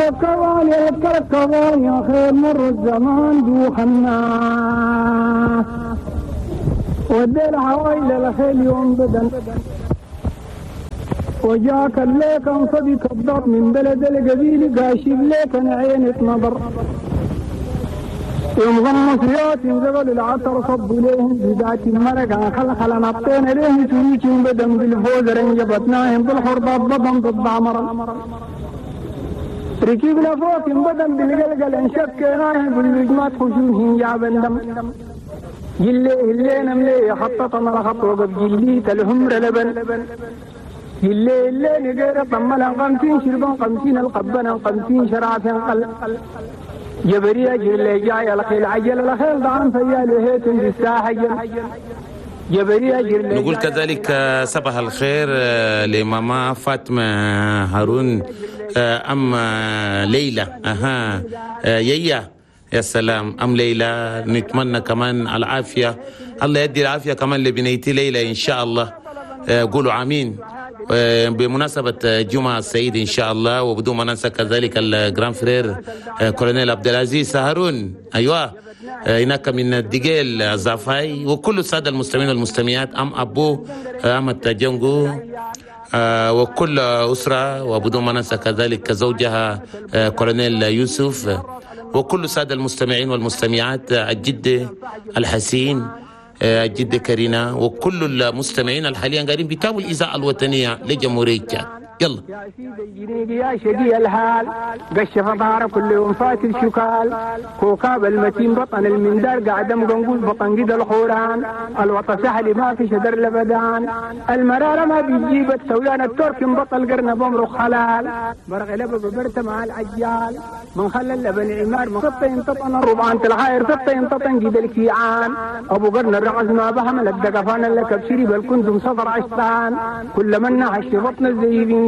الكركبان يا الكركبان يا خير مر الزمان دوخنا ودي العوائل الخيل يوم بدن وجاك الليك انصبي كبر من بلد القبيل قاشب ليك عينة نظر يوم غمصيات زبل العطر صبوا ليهم بذات المرقة خلخل نطينا ليهم سويك بدن بالفوز رنجبتناهم بالحربات بدن بالضعمر ركبنا فوق بدن بالقلقل انشكناهم باللجمات خشوشهم جابن دم جلي اللي نملي خططنا الخط وقف جلي تلهمر لبن جلي اللي نقير طملا 50 شربا 50 القبنا 50 شرعة قل جبرية جلي جاي الخيل عجل الخيل ضعن فيا لهيت بالساحة جبرية جلي. نقول كذلك صباح الخير لماما فاطمة هارون أم ليلى. أها يا يا سلام أم ليلى، نتمنى كمان العافية، الله يدي العافية كمان لبنيتي ليلى إن شاء الله، قولوا آمين. بمناسبة جمعة السعيد إن شاء الله، وبدون ما ننسى كذلك ال grand frère كولونيل عبد العزيز هارون، أيوة هناك من الدقيل زافاي، وكل السادة المستمعين والمستمعات، أم أبو أحمد جنجو وكل أسرة، وبدون ما ننسى كذلك زوجها كولونيل يوسف، وكل السادة المستمعين والمستمعات، الجد الحسين، الجدة كارينا، وكل المستمعين الحاليا قاعدين بيتابعوا الإذاعة الوطنية لجمهورية تشاد. يلا يا سيدي يا شقي الحال قش فطار كل يوم فات الشكال كوكاب المتين بطن المندار قاعد مقنقول بطن قد الحوران الوطا سهل ما في شدر لبدان المرارة ما بيجيب السويان الترك بطل قرن بمرق حلال برغ لبب برت مع العجال من خلى اللبن عمار من سطين تطن الربعان تلغاير سطين تطن قد الكيعان ابو قرن الرعز ما بهم لك دقفان لك بشري بل كنتم صدر عشتان كل من نحش بطن الزيبين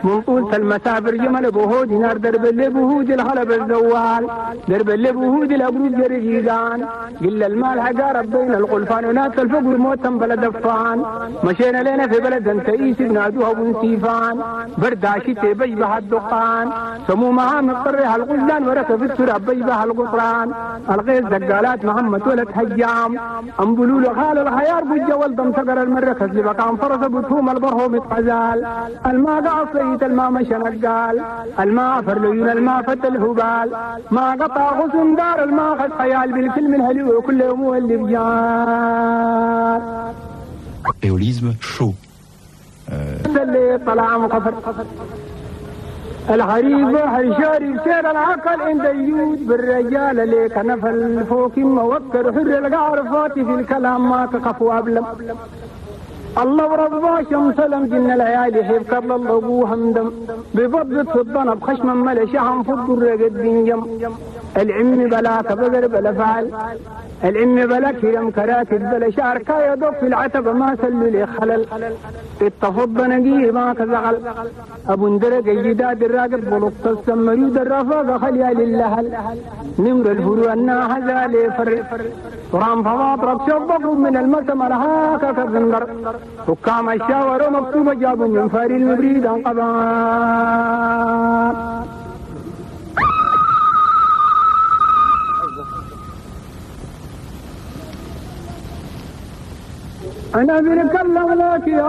من طول المسافر جمل بهود نار درب اللي بهود الغلب الزوال درب اللي بهود الأبرود جريجان قل المال حقارب بين الغلفان وناس الفقر موتا بلا دفان مشينا لنا في بلد تئيس بنادوها بنسيفان برد عشتي بيبها الدقان سمومها مضطرها الغزلان وركب التراب بيبها القطران الغيث دقالات محمد ولد هجام أنبلول خال الخيار بالجوال دم سقر المركز لبقام فرس بتهوم البرهوم اتغزال الماء قعصيت الماء مشى نقال الماء فرليون الماء فت الهبال ما قطع غصن دار الماء خد خيال بالكلم الهلو كل يوم اللي بجال. Éolisme chaud. اللي طلع مقفر الحريب حشاري سير العقل عند يود بالرجال اللي كنفل فوق موكر حر القعر فاتي في الكلام ما تقف وابلم الله وربا شمس لم جن العيال حيب قبل الله همدم ببضت في الضنب خشما ملشهم فض الرقد بنجم العم بلا كبقر بلا فعل العم بلا كرم كراكب بلا شعر كايا دق في العتبة ما سلوا لي خلل التفض نقيه ما كزغل ابو اندرق الجداد الراقب بلط السمريود الرفاقة خليا للهل نمر الفروع الناحزة لفر رام فواطرب شبقوا من المسم الهاكا كالزندر حكام الشاور مكتوبة جابوا من فاري المبريد انقبان. أنا بنكلم لك يا